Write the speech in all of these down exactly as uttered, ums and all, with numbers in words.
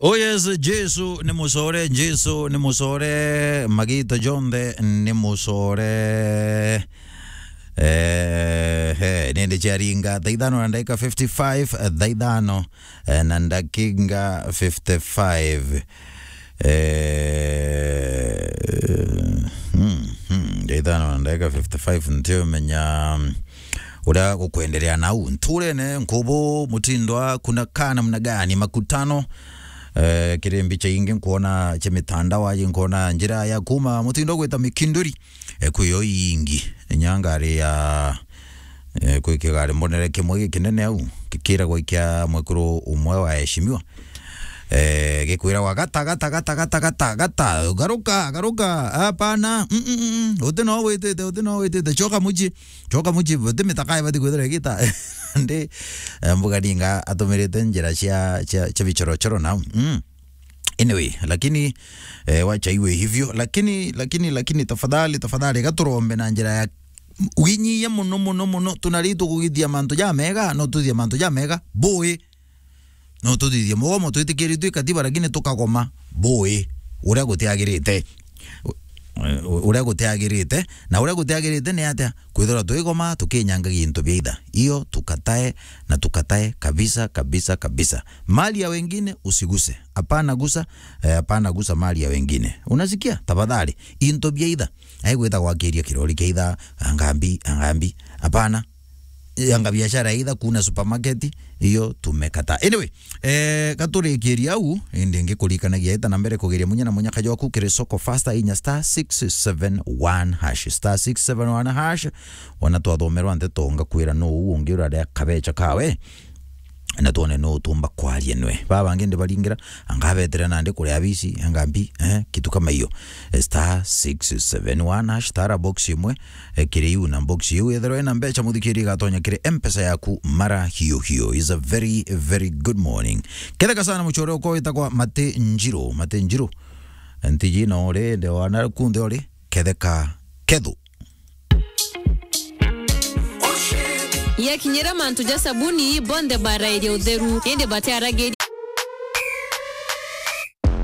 Oh yes, Jesu ni mucore, Jesu ni mucore, magita jonthe ni mucore. Eh, he, nindi ciaringa thaa ithano na ndagika fifty-five, eh, thaa ithano, eh, na ndagika fifty-five. Eh, hmm, hmm, thaa ithano na ndagika fifty-five, ntiumenya, mm, uria gukwenderea nau nturene, nkubu, mutindo wa kuna kaa namna gani, makutano, eh, kiri mbicha ingi nkuona cia mitandao aji, nkuona njira ya kuma mutindo gwita Mikinduri, eh, kwi yo ingi, inya ngari ya, eh, kwi kigari mbonere kimwe gikinene au, gikiragwa ikia mwekuru umwe wa eshimiwa, eh, gikwiragwa, "Gata, gata, gata, gata, gata, gata, garuka, garuka, hapana, mm, mm, mm, mm, uti no witite, uti no witite, coka mucii, coka mucii, uti mitaka ibati kwithirwa igita." Ndi, eh, mbuga ninga atumirite njira cia, cia, cia bichorochoro nau. Mm. Anyway, lakini, eh, wacha iwe hivyo, lakini, lakini, lakini tafadhali, tafadhali, gaturombe na njira ya winyia muno, muno, muno, tunari tukugithia mantu ja mega, no tuthithia mantu ja mega, bui. No tuthithie mugomo, twitikiritue katiba, lakini tukagoma, bui, uria gutiagirite. U-, u-, uria gutiagirite. Na uria gutiagirite ni atia? Kwithirwa twigoma, tukinyangagia into bia itha. Iyo tukatae, na tukatae kabisa, kabisa, kabisa. Mali ya wengine usiguse. Hapana gusa, eh, hapana gusa mali ya wengine. Unasikia? Tafadhali. Into bia itha. Aigwita gwakiria kirori kia itha, anga mbi, anga mbi. Hapana. Anga biashara ya itha kuna supermarket, iyo tumekataa. Anyway, eh, gaturikiria au, indi ngikurikanagia ita na mbere kugeria munya na munya kajoku kiri soko faster inya star six seven one hash, star six seven one hash. Wana twathomerwa nteto ngakwira no uu ungi uraria kabecha kawe. Na twone no utumba kwaria nwe. Baba bangi ndibaringira, anga betire nandi kuria bisi, anga mbi, eh, kitu kama iyo. Eh, star six seven one hash, tara box imwe, eh, kiri iu na box iu. Ethirwa ina mbecha muthikiri igatonya kiri M-Pesa yaku mara hiyo hiyo. Is a very, very good morning. Ketheka sana muchore uko witagwa Mate Njiro, Mate Njiro. Ntiji no uri, nde wana kunde uri, ketheka kethu. Yakinyira mantu ja sabuni, bonthe barairia utheru, indi batiaragiria.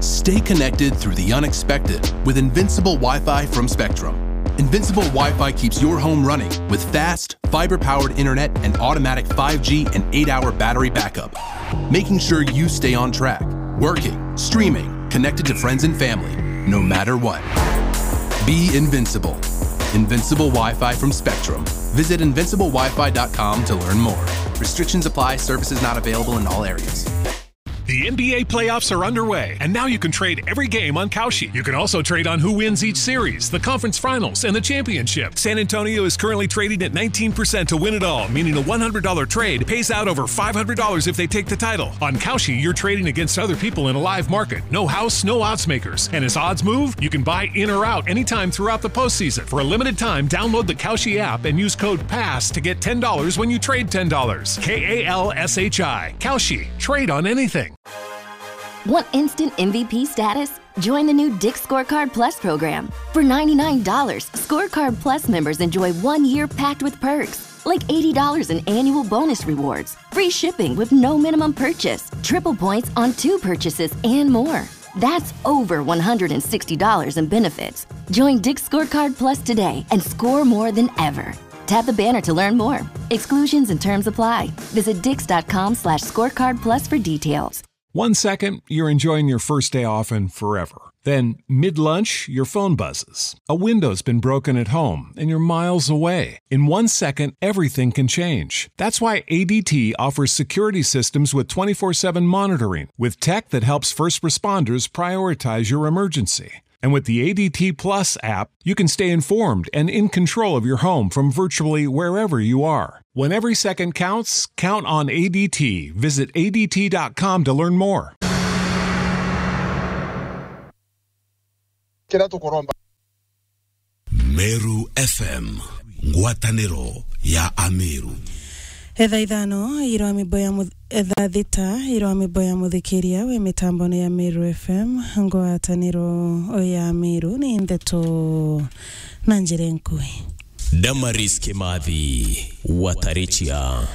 Stay connected through the unexpected with Invincible Wi-Fi from Spectrum. Invincible Wi-Fi keeps your home running with fast, fiber-powered internet and automatic five G and eight-hour battery backup, making sure you stay on track, working, streaming, connected to friends and family, no matter what. Be invincible. Invincible Wi-Fi from Spectrum. Visit invincible wi fi dot com to learn more. Restrictions apply. Services not available in all areas. The N B A playoffs are underway, and now you can trade every game on Kalshi. You can also trade on who wins each series, the conference finals, and the championship. San Antonio is currently trading at nineteen percent to win it all, meaning a one hundred dollar trade pays out over five hundred dollars if they take the title. On Kalshi, you're trading against other people in a live market. No house, no odds makers. And as odds move, you can buy in or out anytime throughout the postseason. For a limited time, download the Kalshi app and use code pass to get ten dollars when you trade ten dollars. K A L S H I. Kalshi. Trade on anything. Want instant M V P status? Join the new Dick's Scorecard Plus program. For ninety-nine dollars, Scorecard Plus members enjoy one year packed with perks, like eighty dollars in annual bonus rewards, free shipping with no minimum purchase, triple points on two purchases, and more. That's over one hundred sixty dollars in benefits. Join Dick's Scorecard Plus today and score more than ever. Tap the banner to learn more. Exclusions and terms apply. Visit dicks dot com slash scorecard plus for details. One second, you're enjoying your first day off and forever. Then, mid lunch, your phone buzzes. A window's been broken at home and you're miles away. In one second, everything can change. That's why A D T offers security systems with twenty-four seven monitoring, with tech that helps first responders prioritize your emergency. And with the A D T Plus app, you can stay informed and in control of your home from virtually wherever you are. When every second counts, count on A D T. Visit A D T dot com to learn more. Kiria tukuromba. Meru F M, ngwataniro ya Ameru. Etha ithano, irwa mibo ya muth-, etha thita, irwa mibo ya muthikiria wi mitambone ya Meru F M, ngwataniro ya Ameru ni ndeto na njira nkui. Damaris Kimathi, Watarichia.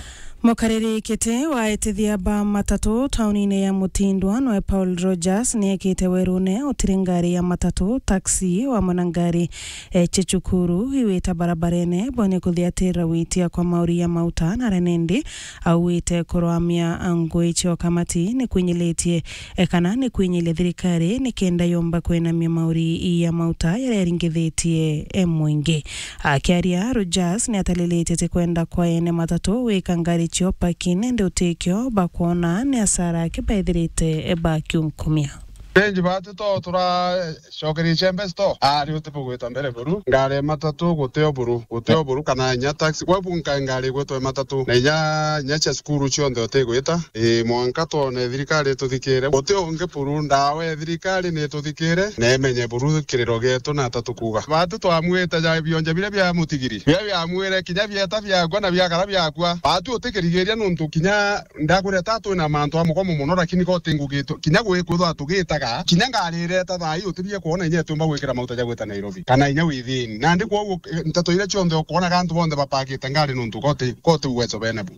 Mukariri kiti wa etithia ba matatu taunine ya Mutindwa nwe Paul Rogers niekite werune utiri ngari ya matatu, taxi, wamwe na ngari, eh, cia cukuru iwita barabarene bone kuthiatira witia kwa mauri ya mauta na renindi auwite kurwamia ngui cio kamati ni kwinyilitie, eh, kana ni kwinyilia thirikari ni kenda yomba kwinamia mauri ya mauta yaria yaringithitie, eh, mwingi. Akiaria, Rogers ni atalilitie ti kwenda kwa ene matatu wika ngari cio parking, indi utikio bakwona ni asara aki baithirite bakiunkumia. Benji batu to turacokeria icembe sto. Ari uti bugwita mbere buru. Ngari matatu gutio buru, gutio buru kana inya taxi. Gwe bunka ngari gwitwe matatu. Na inya, inya cia cukuru cionthe utigwita. Ii, mwanka twone thirikari ituthikire. Guti ungi buru, ndawa ya thirikari ni ituthikire, na imenye buru kiriro gietu na tatukuga. Batu twamwite ja bionje biria bia mutigiri. Biria biamwire kinya bieta biakwa na biakara biakwa. Batu utikirigiria nontu kinya ndakwira ta twina mantu a mugomo mono, lakini ko ti ngugi tu-, kinya gwi-, kwithwa tugitaga, kinya ngari ireta thaa ii utibie kwona inya itiumba gwikira mauta ja gwita Nairobi, kana inya within. Nandi kwoguo, eh, nteto iria cionthe ukwonaga antu bonthe bapakite ngari nontu ko ti, ko ti uwezo bena bu.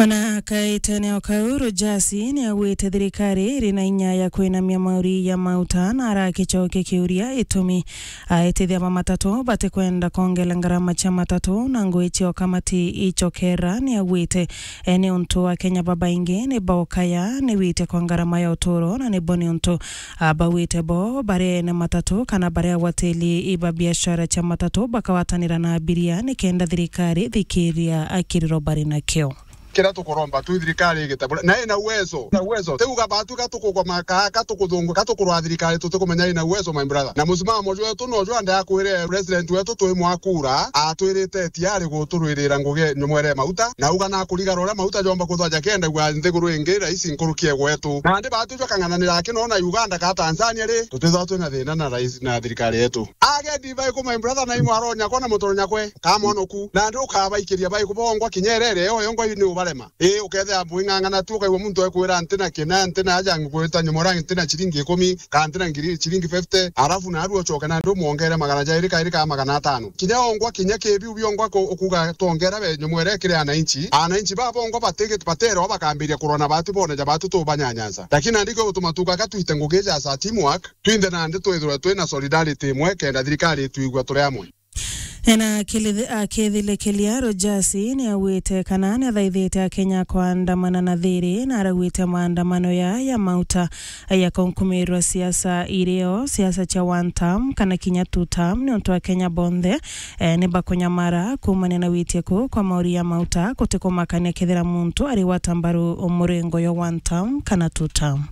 Ona kaitene o kau, Rogers ni augite thirikari iri na inya ya kwinamia mauri ya mauta na arakicokia kiuria itumi aetithia ba matatu batikwenda kongela ngarama cia matatu na ngui cio kamati icokera. Ni augite, eh, ni untu Akenya babaingi ni baukaya ni witia kwa ngarama ya uturo na ni bo ni untu Ah, bauite bo baria ene matatu kana baria agwatiri iba biashara cia matatu bakagwatanira na abiria ni kenda thirikari thikiria akiriro bari nakio. Kiria tukuromba tu thirikari igitabura na ina uwezo, na uwezo. Tiuga batu gatukugwa maka, gatukuthungu, gatukurwa thirikari tutikumenya ina uwezo, my brother. Na musimamo jwetu no jwa ndakwire president wetu twi mwakura, atwirite tiari guturwirira ngugi nyumwere mauta, na uga na kurigara uria mauta jomba kuthwa jakenda gwa nthiguru ingi raisi nkuruki e gwetu. Nandi batu jwa kang'ananira aki no na Uganda ka Tanzania ri, tutithwa twina thina na rais na thirikari yetu. Agendi baiku, my brother, na imwaro nyakwa na mutoro nyakwe, ka mwonoku. Nandi ukabaikiria baiku bongwa kinya irere, yo yongwa ni ubarema. Ii, ukethira bwing'ang'ana tu, ukaigua muntu ekwira, "Ntina kina, ntina aja ngwita nyumwera, ntina ciringi ikumi, kana ntina ngiri, ciringi fifty," arafu naru ucoke nandi umwongere magana jairi kairi ka magana atano. Kinya ongwa, kinya kibiu biongwa ku-, ukuga twongera be nyumwere kiri ananchi. Ananchi ba bongwa batigi-, baterwa bakambiria kurwa na batu bone ja batu tubanyanyansa. Lakini nandi kio gutuma tukaga twite ngugi ja sa teamwork, twinthe nandi twithirwe twina solidarity imwe, kenda thirikari itwigua turi amwe. Ena akili-, akithilikilia, Rogers ni augite kana ni athaithite Akenya kwandamana na thiri, na arauite maandamano ya, ya mauta ya kunkumirwa siasa irio, siasa cia one term kana kinya two term, ni untu Akenya bonthe, eh, ni bakunyamara kumania na witie ku kwa mauri ya mauta, gutikumakania kethira muntu arigwata mbaru murengo yo one term kana two term.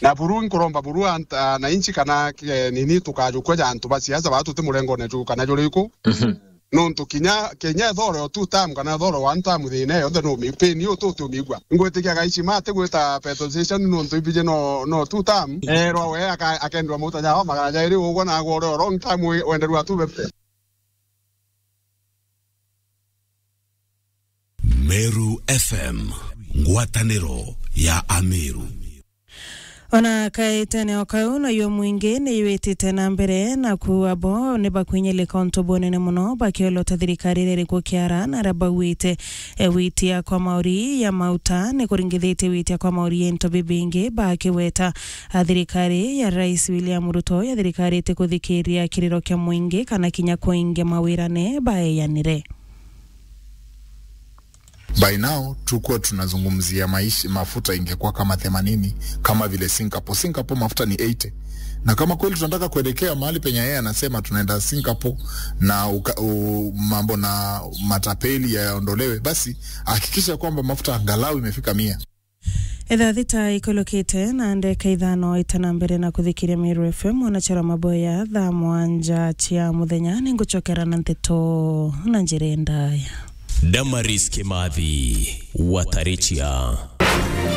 Na buru nkuromba buru ant-, ananchi kana, eh, nini tukajukua ja antu ba siasa baa tuti murengone ju kana juriku. Mhm. Nontu kinya, kinya ethore o two term kana ethore o one term thina yonthe no mi-, pain yo tu tiumigua. Ngwitikia gaici mati gwita petrol station nontu ibije no, no two term. Erwa we aka-, akendwa mauta jao magana jairi ugwa na agwa ore o long term we-, wenderwa two fifty. Meru F M, ngwataniro ya Ameru. Ona kaitene o kau, nayo mwingi ni yitite na mbere na kuuga bo ni bakwinyilika untu bunene muno bakiolota thirikari iria iriku kiara na aria bauite, e, witia kwa mauri ya mauta ni kuringithitie witia kwa mauri ya into bibingi bakiweta, a, thirikari ya Rais William Ruto ya thirikari iti kuthikiria kiriro kia mwingi kana kinya kuingia mawirane baeyanire. By now, tukuwa tunazungumzia maisha, mafuta ingekuwa kama themanini, kama vile Singapore. Singapore mafuta ni eighty. Na kama kweli tunataka kuelekea mahali penye yeye anasema tunaenda Singapore na uka-, u-, mambo na matapeli yaondolewe, basi hakikisha kwamba mafuta angalau imefika mia. Ithaa thita ikulukite na ndeka ithano itana mbere na kuthikiria Meru F M, mwanachara maboya thaa mwanja cia muthenya, ningucokera na nteto na njira ndaya. Damaris Kimathi, Watarichia.